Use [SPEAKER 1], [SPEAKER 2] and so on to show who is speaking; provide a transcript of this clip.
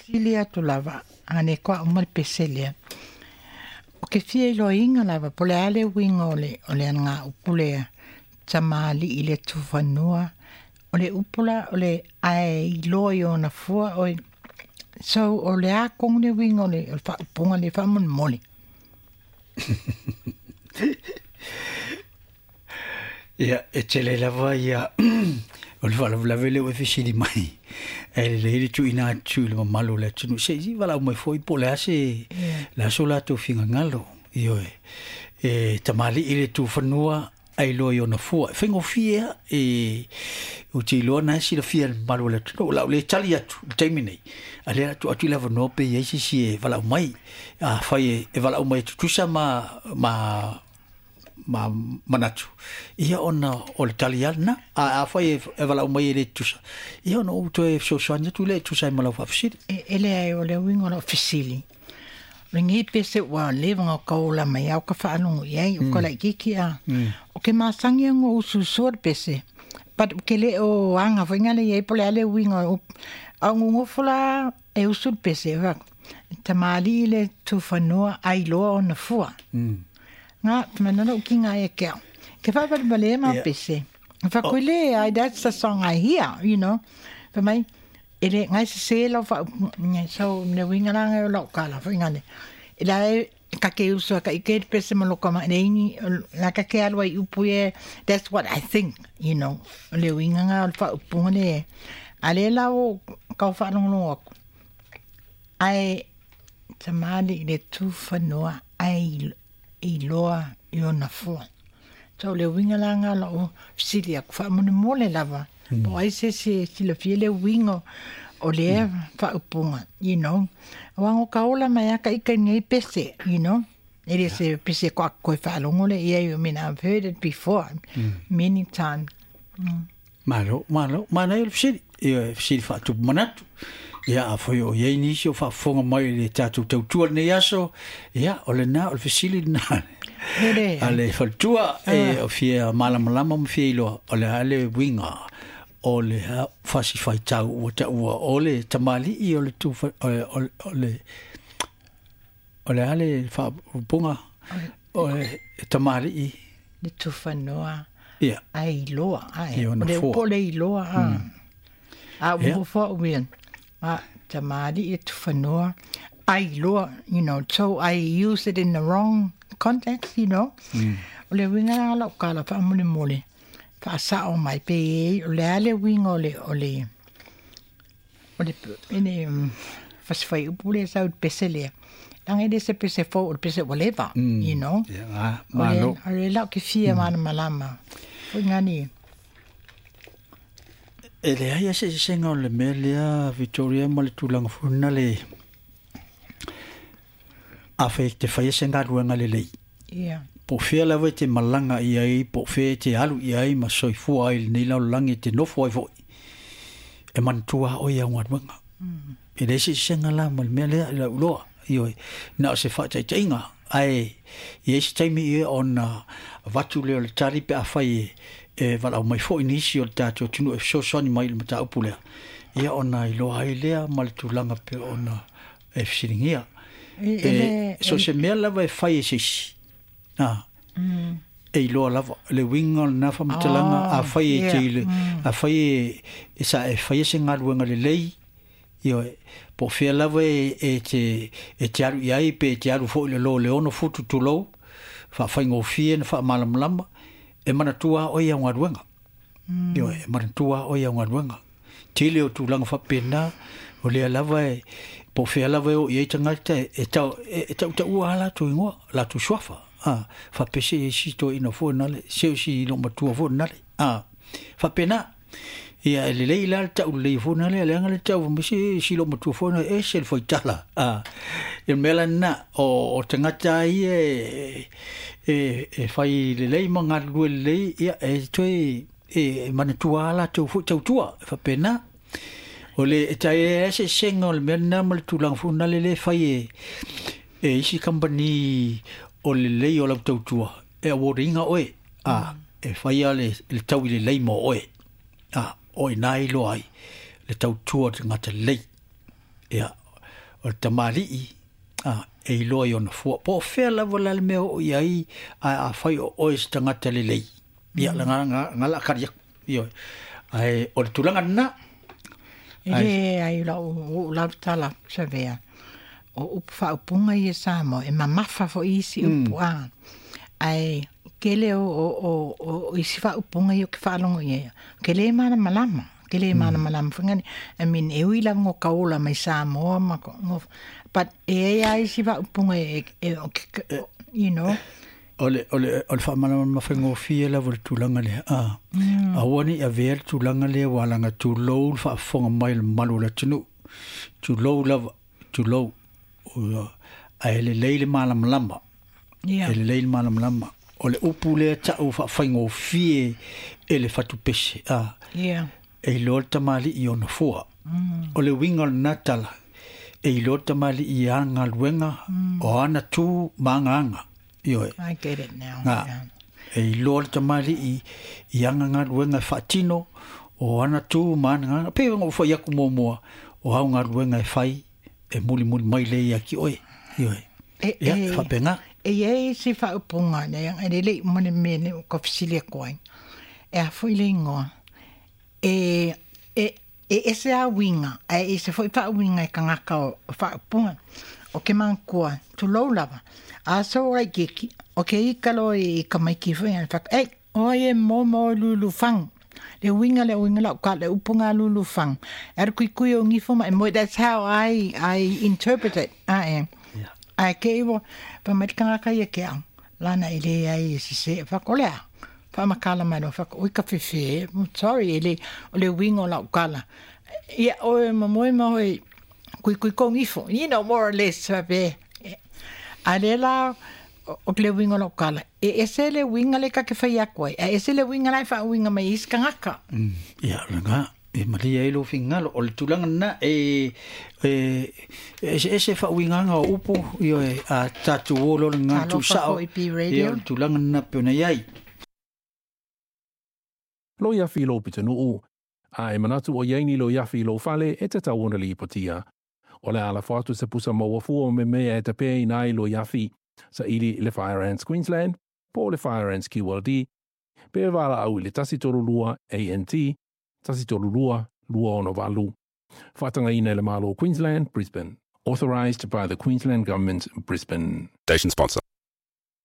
[SPEAKER 1] Fesili atu lava, a ne koa uma le pese lea. O ke fia iloaina lava, po o le a le uiga o le alagaupu lea, tamalii i le tufanua, o le upu la o le ae iloa i ona fua o so o le a tonu le uiga o le faaupuga lea faamolemole?
[SPEAKER 2] Ia, e tele lava ia o le faalavelave lea ua e fesili mai. E lelei le tuuina atu i le mamalu o le atunuu. Se i valaau mai foi po o le a se le a so latou finagalo. Ioe. E tamalii le tufanua ae iloa i ona fua. E faigofie lava e ou te iloa na e silafia e le mamalu o le atunuu. O le a ou le tali atu i le taimi nei, a o lea o le a tuu atu le avanoa pe i ai se isi e valaau mai. Afai e valaau mai e tutusa ma manatu, ia ona o le tali lava lena. Ae afai e valaau mai e le tutusa, ia ona ou toe fesoasoani atu lea e tusa ai ma lau faafesili.
[SPEAKER 1] E leai, o le uiga o lau fesili, o lenei pese ua leva ona taola mai au ka faalogo i ai, o ka laitiiti a. O ke masani ona usuusua le pese, but ou te le o aga foi ngale i ai po o le a le uiga o upu. A o nonofo la e usu le pese, e fai atu, tamalii le tufanua ae iloa ona fua. Nga, mana lou kiga ia te au. Ke faavalevalea ma pese. Fa koe le, ai, that's the song I hear. Fai mai, e le ngai sesē lau faaupuga. So, le uiga la ngai o lau tala foi ngale. E la e ka ke usu a ka ike le pese ma loka ma le ingi, la ka ke alu ai upu e, that's what I think. Le uiga nga o le faaupuga le, a le la o kau whaalongolongo aku. Ae tamalii le tufanua ae iloa i ona fua. So le uiga la nga lau fesili atu faamolemole lava. Po o ai se isi e silafia le uiga o lea faaupuga. Aua no ka ola mai a ka ika nei pese. E le se pese ko koe faalogo le ia, I mean, I've heard it before many times.
[SPEAKER 2] Malo, malo, manaia le fesili. Ia, fesili faatupu manatu. Ia, afai o i ai nisi o faafofoga mai i le tatou tautua lenei aso, ia, o lena, o le fesili lena.
[SPEAKER 1] E
[SPEAKER 2] A le faletua e o fia malamalama ma fia iloa, o le a le uiga o le fasi faitau ua taua o le tamalii o le tufa, o le a le faaupuga o le tamalii
[SPEAKER 1] le tufanua ae iloa ae.
[SPEAKER 2] I
[SPEAKER 1] O
[SPEAKER 2] ona
[SPEAKER 1] le
[SPEAKER 2] fua.
[SPEAKER 1] upu o le iloa a. A ua fua uia. A tamalii le tufanua ae iloa, so I use it in the wrong context. O le uiga la lau tala faamolemole faasao mai pe i o le a le uiga o le ene fasi upu le sau le pese lea. Langa e le se pese fou o le pese ua leva.
[SPEAKER 2] Ia, ah,
[SPEAKER 1] O le,
[SPEAKER 2] malo.
[SPEAKER 1] o le lau ke fia malamalama. Foi ngani.
[SPEAKER 2] E leai se sesega o le mea lea, Victoria, ma le tulaga foi lena le afai e te faia se galuega lelei. Po o fea lava e te malaga i ai, po o fea e te alu i ai ma soifua ai i lenei lalolagi e te nofo ai foi. E manatua lava oe i au galuega. E leai se sesega la ma le mea lea i lau iloa. Ioe, na o se faataitaiga. Ae i ai se taimi ia ona avatu lea o le tali pe afai e valaau mai foi nisi o le tatou atunuu e fesoasoani mai i le mataupu lea. Ia ona iloa ai lea ma le tulaga pe ona e fesiligia.
[SPEAKER 1] E le,
[SPEAKER 2] So se mea lava e fai e se isi. Ah, e iloa lava le uiga o lena faamatalaga afai e te ile afai e sa e faia se galuega lelei, ioe, po o fea lava e te alu i ai pe e te alu foi i le lo le 6 futu tulou faafaigofie na faamalamalama e manatua oe i au galuega. Ioe, e manatua oe i au galuega. Tele o tulaga faapena o lea lava e po o fea lava e oo i ai tagata e tautaua lava latou igoa latou suafa a faapea se isi toeaina foi nale se o si loomatua foi nale a faapena. Ia e lelei la le tau lelei foi nale leaga le tau ma se si loomatua foi na ese le faitala a e mea la lena o tagata ia e fai lelei ma galulue lelei ia e toe e manatua lava latou foi tautua e faapena. O le e tai e se sesega o le mea lena ma le tulaga foi nale le fai e isi kamupani o lelei o lau tautua e award ina oe a e faia le taui lelei mo oe a o ina iloa ai le tautua o le tagata lelei ia. o le tamalii a e iloa i ona fua. Po o fea lava la le mea o i ai, ae afai o oe se tagata lelei. Ia, la nga nga nga la kari aku. Ioe. Ae o le tulaga lena.
[SPEAKER 1] E le ai lau ou lava tala savea. O upu faaupuga ia Samoa e mamafa foi isi upu a. Ae kele o o o o isi faaupuga ia ke faalogo i ai. Ke le malamalama. Ke le malamalama foi ngani. I mean, e ui lava ngo kaola mai Samoa ma ko ngo but e ai a isi faaupuga e e e you know.
[SPEAKER 2] O le, o le, o le faamalamalama faigofie lava o le tulaga lea. A, aua ne i avea le tulaga lea ua alaga tulou le faafofoga mai o le mamalu o le atunuu. Tulou lava, tulou. Ae lelei le malamalama.
[SPEAKER 1] Yeah.
[SPEAKER 2] E lelei le malamalama. O le upu lea tau faafaigofie e le fatupese. A,
[SPEAKER 1] Yeah.
[SPEAKER 2] e iloa le tamalii i ona fua. O le uiga o lena tala, e iloa le tamalii i ana galuega, o ana tu ma aga aga. Ioe.
[SPEAKER 1] I get it now.
[SPEAKER 2] Nga.
[SPEAKER 1] Yeah.
[SPEAKER 2] E iloa le tamalii i ana galuega e faatino, o ana tu ma ana aga. Pei ona ou fai atu muamua, o au galuega e fai, e mulimuli mai lea ia ki oe. Ioe.
[SPEAKER 1] E,
[SPEAKER 2] Ia,
[SPEAKER 1] e,
[SPEAKER 2] faapena.
[SPEAKER 1] e iai se faaupuga lea, e lelei uma le mea lea ua ka fesili atu ai. E a foi le ingoa. E, e, e ese a uiga, ae ese foi faauiga e tagata o faaupuga. O ke manatua, tulou lava. A so laitiiti, o ke ika loa i ka maiki foi, a fak, ei, oi e momo lulu fang. Le uiga le uiga lau ka le upu ngā lulu fang. E aru kui kui o ngifo ma e moe, that's how I, I interpret it. A e.
[SPEAKER 2] Yeah.
[SPEAKER 1] Ae ke iwo, pa mai tangata ia ke au. Lana e le ai e sese, fak o lea. Whaamakala mai loa, fak, oi ka whewhe, sorry, e le, o le uiga o lau kala. Ia, oe ma moe ma oe, kui kui kong ifo, you know, more or less, be. A le la, o le uiga o lau kala. E ese le uiga le ka ke whai aku ai. A ese le uiga lai wha uiga mai isi kangaka.
[SPEAKER 2] Ia, lena, e malia ai lou finagalo. O le tulaga lena, e, e, e eseese faauigaga o upu, ioe, a tatou o loa le gagana
[SPEAKER 1] Talofa
[SPEAKER 2] tuusao.
[SPEAKER 1] foi P Radio.
[SPEAKER 2] Ia, o le tulaga lena pei ona i ai.
[SPEAKER 3] Loiafi i lou pitonuu, a e manatu o iai ni loiafi i lou fale e tatau ona lipotia. O le a lafo atu se pusa maua fua o memea e tapeina ai loiafi, saili i le Fire Ants Queensland po o le Fire Ants QLD, pe valaau i le 132 ANT 132 268. Faatagaina e le Malo o Queensland, Brisbane. Authorised by the Queensland Government, Brisbane.
[SPEAKER 4] Station sponsor.